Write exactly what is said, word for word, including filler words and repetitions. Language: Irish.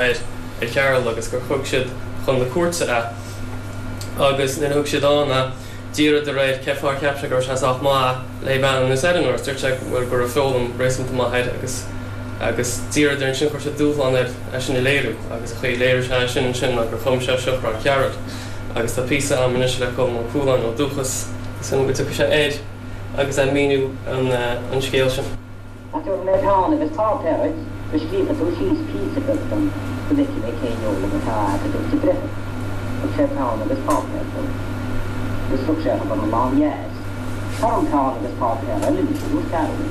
air ar Chearúil agus gur thug siad chun na cúirte é agus nuair a thug siad ann é d'iarradar air cén fáth ar cheap sé go raibh sé sách maith le bean anuas ar an agus dúirt sé bhuel go raibh foghlaim réasúnta maith air agus agus d'iarradar ansin chuir siad dúshlán air é sin a léiriú agus an chaoi a léirigh sé sin ansin ná gur chum sé Seachrán Chearúil agus tá píosa agam anois le Colm Ó Cualáin ó Dúchas is go dtiocfaidh sé air agus é ag míniú an an scéal sin. Ach tabharfaidh mé peann agus páipéar duit go scríobhfaidh tú síos píosa beag dom go bhfeicfidh mé cén fhoghlaim atá agat, a dúirt an breitheamh. Thug sé peann agus páipéar dó. Agus rug sé chun an lán dheas. Tar orm peann agus páipéar eile anois, a dúirt Cearbhall.